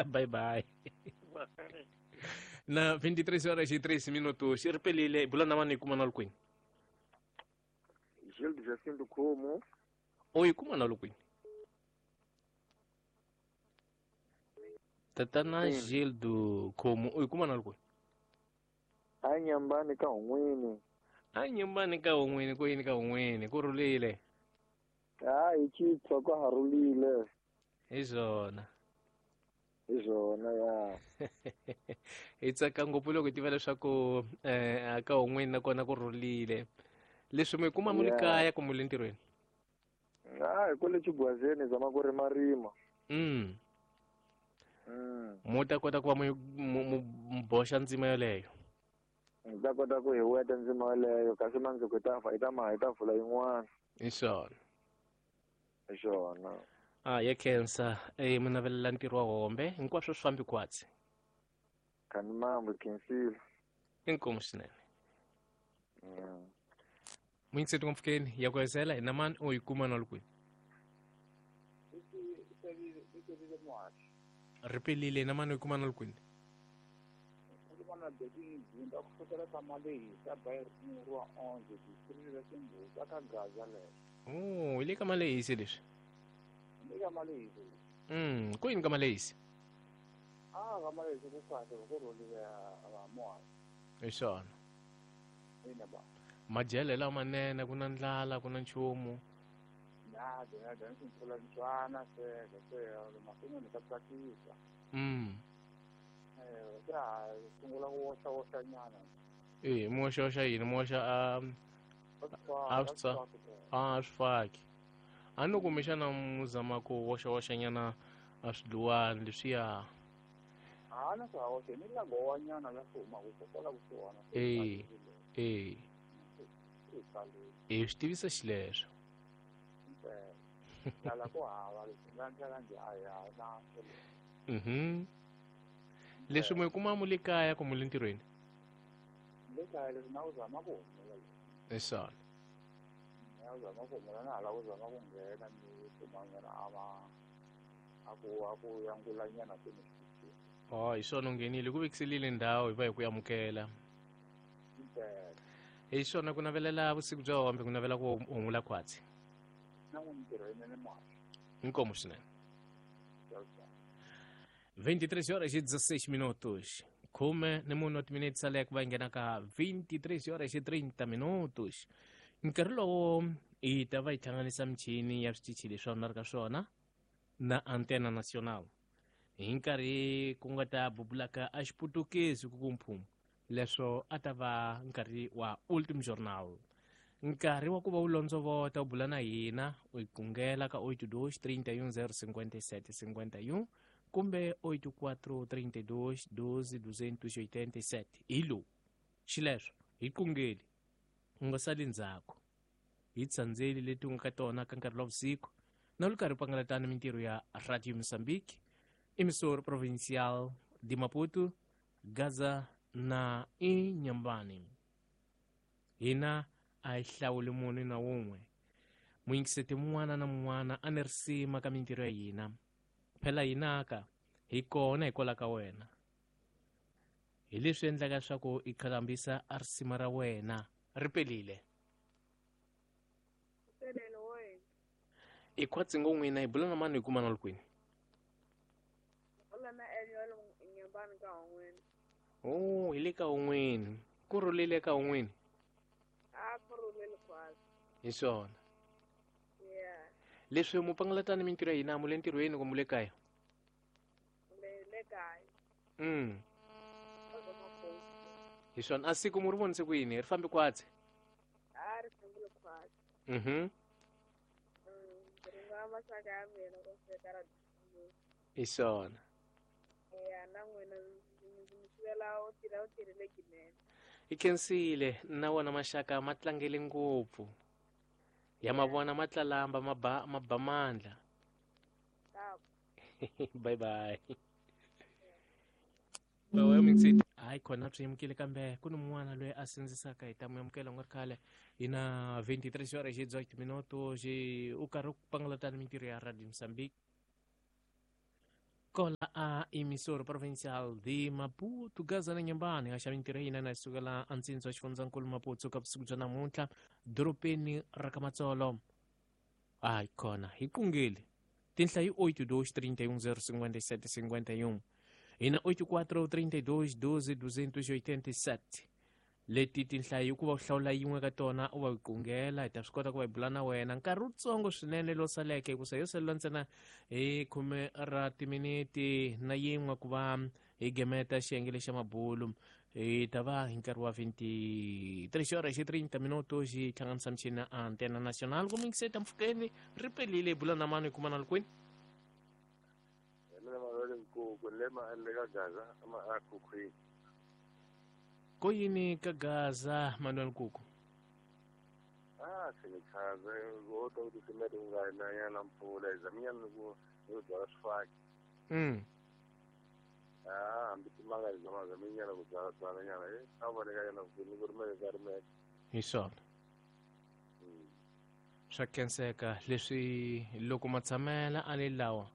Bye bye. Na 23 horas e 3 minutos. Ri pelile hi bula na vanhu hi kuma na le kwini? Gildo Jacinto Como. O hi kuma na le kwini? Tatana Gildo Khomo u yi kuma na le kwini? A nyambani ka hun'wini. A nyambani ka hun'wini ku yini ka hun'wini ku rhulile. Hayi chitshwa ka ha rhulile. Hi swona. Hi swona ya. Hi tsaka ngopfu loko hi tiva leswaku ka hun'wini nakona ku rhulile. Leswi mi kuma mu le kaya kumbe le ntirhweni? Hayi kwale Chigwazeni zama ku rimarima. Mu ta kota ku va mu boxa ndzima yoleyo. Hi ta kota ku hi weta ndzima yoleyo kasi mandzuku hi ta fa hi ta ma hi ta vula yin'wana. Hi swona. Hi swona. Ah, ya khensa. Mu navelela ntirho wa hombe hinkwaswo swi fambi khwatsi. Khani mambo khensile. Inkomu swinene. Muyingiseti ngopfukeni ya ku hezela hi na mani u yi kuma na le kwini? Ri pelile na mani u yi kuma na le kwini? Oh, hi le ka Malehisi leswi. Ku yini ka Malehisi? Hi swona. Madyelo lamanene ku na ndlala ku na nchumu. E mi woxawoxa yini? Mi woxa a a swi faki. A no kumbexana mu zama ku woxawoxanyana a swidluwani leswiya. E e hi swi tivisa xileswo. Leswi mi kuma mu le kaya kumbe le ntirhweni? Hi swona. Oh, hi swona u nghenile ku vekiselile ndhawu hi va hi ku amukela. Hi swona ku navelela vusiku bya hombe ku navela ku humula khwatsi. Inkomu swinene. 23 horas e 16 minutos. Khume ni mune wa timinete sale ku va yi nghena ka 23 horas e 30 minutos. Nkarhi lowo hi ta va hi hlanganisa michini ya switichi leswi a ri ka swona na Antena Nacional. Hi nkarhi ku nga ta bubulaka a xiputukezi ku ku mphumu. Leswo a ta va nkarhi wa Ultim Journal. Nkarhi wa ku va u londzovota u bula na hina u yi kungela ka 82 31 057 51 kumbe 84 32 12 287. Hi lowu xileswo hi kungeli u nga sali ndzhaku hi tsandzeli leti u nga ka tona ka nkarhi wa vusiku na lu karhi u pangalatana mintirho ya Radio Mozambique, Emissor Provincial de Maputo, Gaza na Inhambane. Hina a hi hlawuli munhu na wun'we. Muyingiseti mun'wana na mun'wana a ni risima ka mintirho ya hina. Phela hinaka hi kona hikwalaho ka wena. Hi leswi endlaka leswaku hi qhalambisa a risima ra wena. Ri pelile. I khwatsi ngo n'wina hi bula na mani hi kuma na le kwini? Oh, hi le ka un'wini. Ku rhulile ka un'wini? Hi swona. Leswi mu pangalatani mintirho ya hina mu le ntirhweni kumbe le kaya? Hi swona. A siku mu ri vonise ku yini? Ri fambe khwatsi? Hi swona. Hi khensile na wona maxaka ma tlangele ngopfu. Ya ma vona ma tlalamba ma ba ma ba mandla. Bye bye. Hayi khona swi yemukile kambe ku ni mun'wana loyi a sindzisaka hi ta mu amukela nga ri khale hi na 23 horas e 18 minutos u karhi u pangalatana mintirho ya Radio Mozambique. Kola a emissora provincial de Maputo, Gaza na Nyambani, a xava mintirho yina na sukela antsindzi wa xifundzankulu Maputo ka vusiku bya namuntlha dorobeni ra ka Matsolo. Hayi khona hi qungile tinhla hi 8 2 31 0 57 51 hi na 84 32 12 287 leti tinhla hi ku va u hlawula yin'we ka tona u va yi qungela hi ta swi kota ku va hi bula na wena nkarhi wutsongo swinene lowu saleke hikusa yo salela ntsena hi khume ra timiniti na yin'we ku va hi gemeta xiyenge lexa mabulu hi ta va hi nkarhi wa 23 horas xi 30 minuto xi hlanganisa michini ya antena national ku mingiseta mpfhukeni ri pelile hi bula na mani hi kuma na likwini. Hi mina Manuel Nkuku ni le le ka Gaza akhukhwini. Ko yini ka Gaza Manuel Nkuku? Ah, se ni chaza wo to ku titimela ku nga na nyana mpfula hi zaminyana ku ni ku byala swifaki. Ah, hambi timanga hi zama zaminyana ku byala byala nyana eh a voneka nyana ku ni ku rimeke ka rimeke. Hi swona. Swa khenseka leswi loko matshamela a le lawa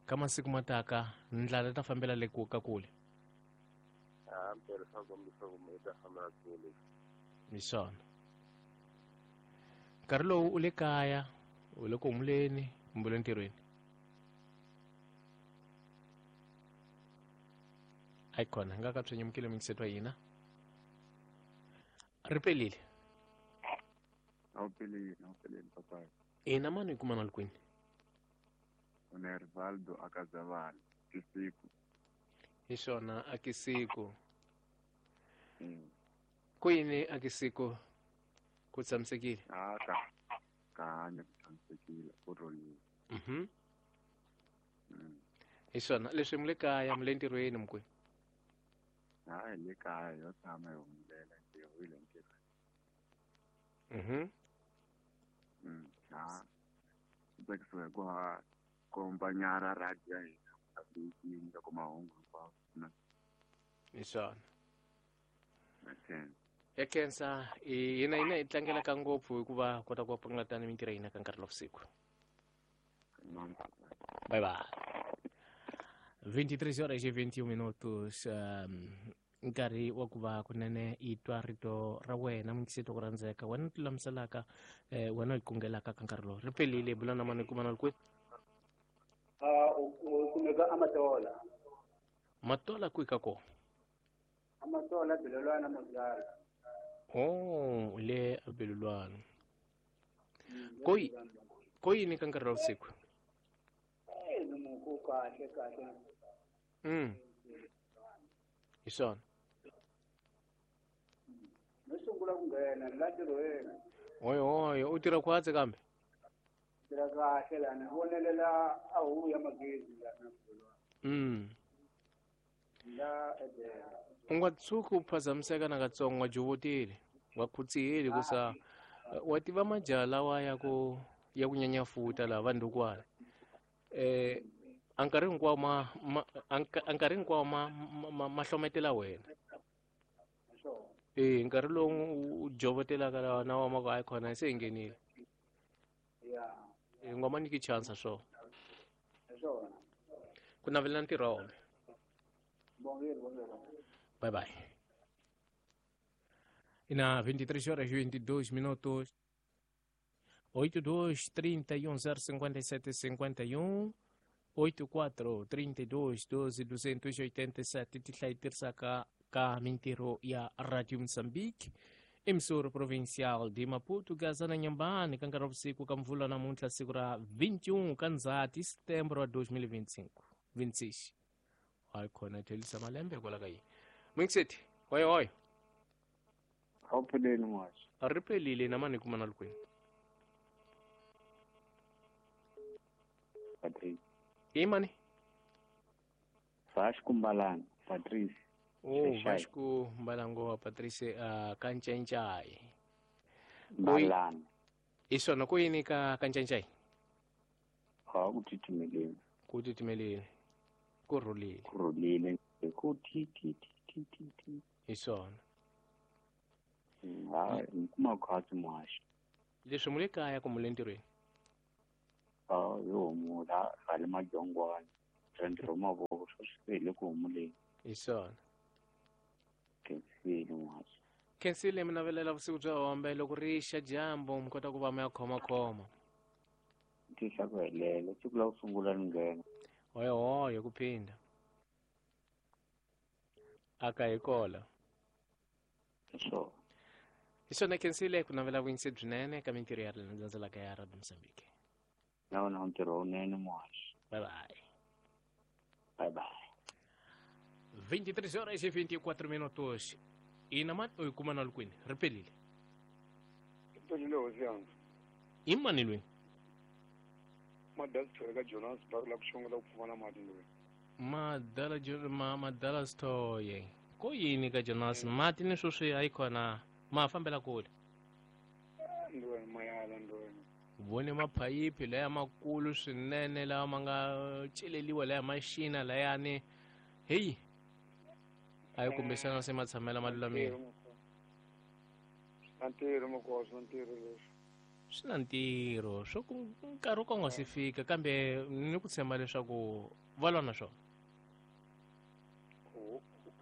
ka masiku mataka ndlala ta fambela le ku ka kule. Ah, mpela swa kombisa ku yi ta fambela kule. Hi swona. Nkarhi lowu u le kaya, u le ku humuleni kumbe u le ntirhweni? Hayi khona hi nga ka swi nyamukile mingiseto wa hina. Ri pelile. A wu pelile, a wu pelile papa. Ina mani hi kuma na likwini? Une Rivaldo akazavana kisiku. Hi swona akisiku. Ku yini akisiku ku tshamisekile? Ah, ka ka hanya ku tshamisekile ku rhulile. Hi swona leswi mi le kaya mi le ntirhweni mukwe? Ha hi le kaya yo tshama hi humelela ntirho hi le ntirhweni. Ha tsakisiwa hi ku ha kombanyara radio ya hina updating loko mahungu hinkwawo na. Hi swona. Okay. Ya khensa hina hina hi tlangelaka ngopfu hikuva kota ku pfunetana mintirho ya hina ka nkarhi lowu vusiku. Bye bye. 23 horas e 21 minutos. Nkarhi wa ku va kunene i twa rito ra wena mingiseti ku rhandzeka wena u tilulamiselaka wena u yi kungelaka ka nkarhi lowu ri pelile bula na mani kuma na kwini. U kumeka Amatola. Matola kwihi ka kona? Amatola Belelwana Mozala. Oh, le Belelwana. Ko yini ka nkarhi wa vusiku? Ku kahle kahle. Hi swona. No sungula ku nghena la ntirhweni. Oyo oyo u tirha khwatsi kambe? Tirha kahle lana vonelela a huku ya magezi lana. La edela. U nga tshuki u phazamiseka nakatsongo wa jovotile wa khutsiheli ku sa wa tiva majaha lawa ya ku nyanya futa laha vandukwana. A nkarhi hinkwawo a nkarhi hinkwawo ma hlometela wena. Nkarhi lowu u jovotelaka lawa na wa ma ku hayi khona se hi nghenile. Nga ma nyiki chance swona. Ku navelela ntirho wa wona. Bye bye. Ina 23 horas e 22 minutos. 82 31 057 51 84 32 12 287 tihla yi tirhisaka ka mintirho ya Radio Mozambique emissora provincial de Maputo Gaza na Nyambani ka nkarhi wa vusiku ka mvula namuntlha siku ra 21 ka Ndzhati Setembro wa 2025 26. Hayi khona thelisa malembe kwala ka yini. Mingiseti hoyo hoyo. A wu pfuleli n'waxi. A ri pelile na mani kuma na likwini. Patrice. I mani? Vasco Mbalanga, Patrice. Oh, Vasco Mbalango Patrice Kanchancai. Mbalanga. I swona ku yini ka Kanchancai? Ha ku titimeleni. Ku titimeleni. Ku rhulile. Ku rhulile. Ku ti ti ti ti ti. Hi swona. Ha ni kuma khwatsi muhaxi. Leswi mu le kaya kumbe le ntirhweni? Ha yo humula ra le Madyongwana. Bya ntirho wa mavoko sweswi se hi le ku humuleni. Hi swona. Khensile n'waxi. Khensile mi navelela vusiku bya hombe loko ri xa dyambu mi kota ku va mi ya khomakhoma. Tisa ku helela siku la ku sungula ni nghena. Hoyohoyo ku phinda. Aka hi kola. Hi swona. Hi swona khensile ku navela vuyinsi byinene ka mintirho ya landzelaka ya Radio Mozambique. Na wena ntirho wunene muhaxi. Bye bye. Bye bye. 23 horas e 24 minutos. Ina mani u yi kuma na kwini? Ri pelile. Pelile hosi yanga. I mani lweni? Madala Thoye ka Jonas Bar la ku xongela ku pfumala mati ndlwini. Madala Madala Thoye. Ko yini ka Jonas? Mati ni sweswi a yi khona ma fambela kule. Ndlwini mayala ndlwini. Vone maphayiphi laya makulu swinene lawa ma nga celeliwa laya maxina layani. Heyi. A yi kumbexana se ma tshamela ma lulamile. Na ntirho makosi, na ntirho leswi. Swi na ntirho swo ku nkarhi wo ka wu nga si fika kambe ni ku tshemba leswaku va lwa na swona.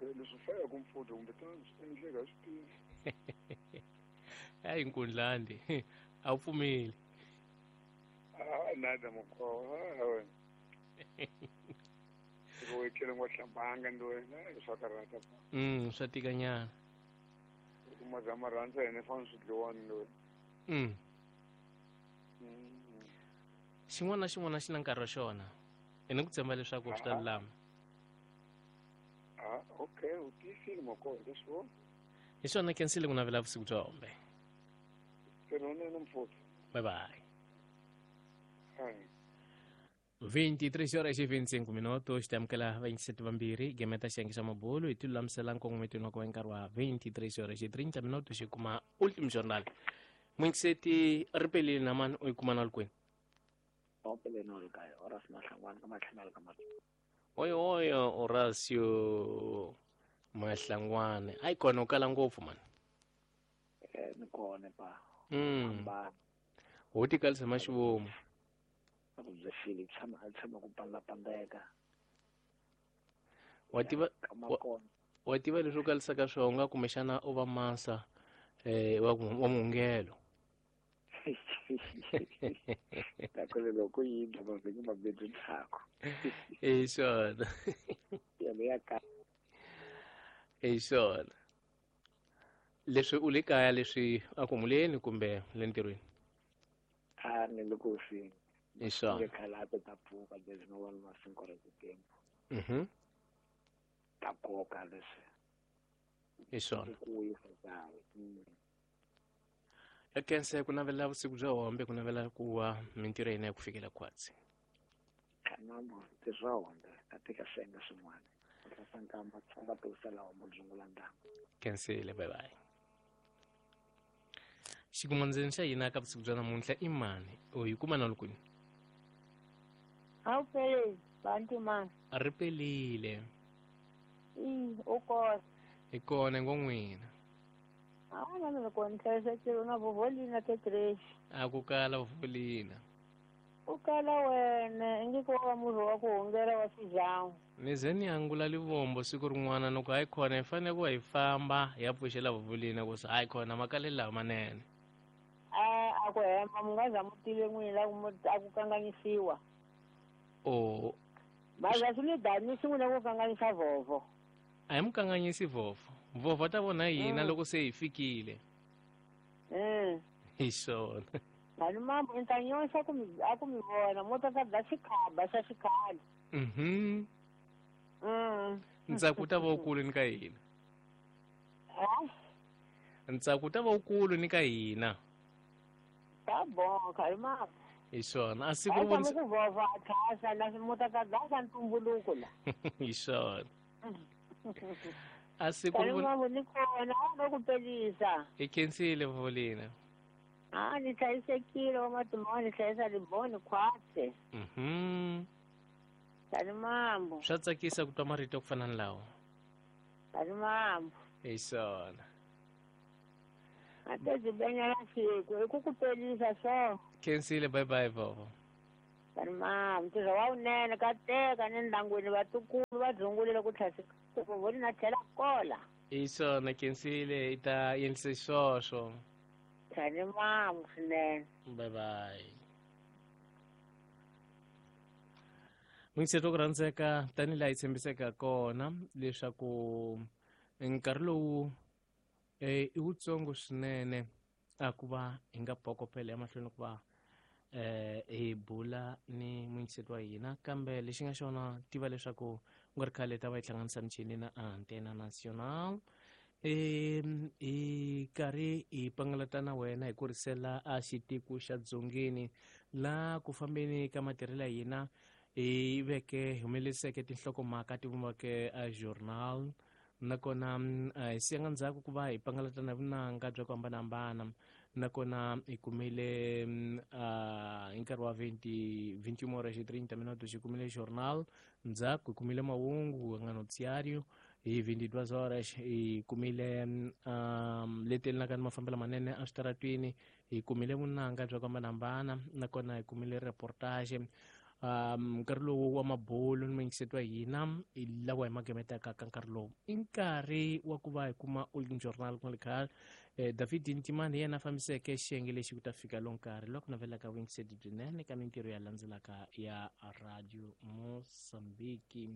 Leswi fayaka mpfhuta kumbe swi endleka swi tivi. Hayi nkundlandi a wu pfumeli. Nada mukhowa wena. Loko u etlele ngo hlambanga ndlwini swa karhata. Swa tikanyana. Loko mazama rhandza yena fana swi dliwani ndlwini. Xin'wana na xin'wana xi na nkarhi wa xona. I ni ku tshemba leswaku swi ta lulama. Okay, u tiyisile makoho leswo. Hi swona khensile ku navela vusiku bya hombe. Ntirho mfuto. Bye bye. 23 horas e 25 minutos tamukela vayingiseti vambirhi gemeta xiyenge xa mabulu hi tilulamisela nkongometweni wa ku va nkarhi wa 23 horas e 30 minutos xi kuma ultimo jornal. Muyingiseti ri pelile na mani u yi kuma na likwini? Oyo oyo Horacio Mahlangwane. Hayi kona u kala ngopfu mani. Ni kona pa. Ho tikalisa maxivomu. Ku tshama a tshama ku pandapandeka. Wa tiva wa tiva leswi u kalisaka swona u nga kumbexana u va masa wa muhungelo. Nakona loko yi dla mavhiki mambirhi ndzhaku. Hi swona. Ya ka. Hi swona. Leswi u le kaya leswi a ku humuleni kumbe le ntirhweni? A ni le ku swi. Hi swona. Nge khala ta pfuka leswi no vona masinko ra titempo. Ta koka leswi. Hi swona. Ku yisa kahle. Ekense ku navela vusiku bya hombe ku navela ku wa mintirho ya hina ya ku fikela khwatsi. Kanambo ntirho wa hombe a tika swi swin'wana. Ku tlasa nkamba tsonga tirhisela hombe dzungula ndyangu. Kensile bye bye. Xikumandzeni xa hina ka vusiku bya namuntlha i mani? U yi kuma na lukwini? A wu peleli bantu mani. A ri pelile. I u kona. Hi kona ngo n'wina. A na loko ni hlayisekile na vovolina tetrexi. A ku kala vovolina. U kala wena ingi ko wa murhi wa ku hungela wa swijangu. Ni ze ni angula livombo siku rin'wana loko hayi khona hi fanele ku hi famba hi ya pfuxela vovolina ku hayi khona makalelo lawa manene. A ku hemba mi nga za mu tive n'wina a ku kanganyisiwa. O. Maza swi ni danisi n'wina ku kanganyisa vovo. A hi mu kanganyisi vovo. Vovo ta vona hina loko se hi fikile. Hi swona. Mani mambo ni ta nyonsa ku mi a ku mi vona mo ta ta dla xikhaba xa xikhale. Ntsako ta va wukulu ni ka hina. Ntsako ta va wukulu ni ka hina. Ta bon khali mambo. Hi swona. A siku ri vonisa ku vovo a thasa na mo ta ta dla ntumbuluko la. Hi swona. A siku ri vona ni kona a ku pelisa. Hi khensile Volina. A ni hlayisekile wa matimba ni hlayisa liboni khwatse. Tani mambo. Swa tsakisa ku twa marito ku fana ni lawa. Tani mambo. Hi swona. A te byi benyela siku i ku ku pelisa so. Khensile bye bye vovo. Tani mama ntirho wa wunene ka teka ni ndyangwini vatukulu va dzungulile ku tlhasika voni na tlhela kola. Hi swona khensile i ta endlise swoswo. Tani mama swinene. Bye bye. Muyingiseri wa ku rhandzeka tanihi laha hi tshembiseke kona leswaku nkarhi lowu i wutsongo swinene a ku va hi nga phokopela emahlweni ku va hi bula ni muyingiseri wa hina, kambe lexi nga xona tiva leswaku ku nga ri khale ta va hi hlanganisa michini na Antena Nacional. Hi karhi hi pangalata na wena hi kurisela a xitiko xa dzongeni laha ku fambeni ka matirhelo ya hina hi veke humeleriseke tinhlokomhaka ti vumbaka a journal, nakona hi siyanga ndzhaku ku va hi pangalata na vunanga bya ku hambanahambana, nakona hi kumile hi nkarhi wa 21 horas e 30 minutos hi kumile journal, ndzhaku hi kumile mahungu nga noticiário hi 22 horas hi kumile letelelaka ni mafambelo manene eswitaratwini, hi kumile vunanga bya ku hambanahambana, nakona hi kumile reportage. Nkarhi lowu wa mabulu ni muyingiseti wa hina hi lawa hi magemetaka ka nkarhi lowu i nkarhi wa ku va hi kuma Ultim Journal ku nga ri khale. David Ntimani hi yena a fambiseke xiyenge lexi ku ta fika lo nkarhi loku navelaka vuyingiseti byinene ka mintirho ya landzelaka ya Radio Mozambique.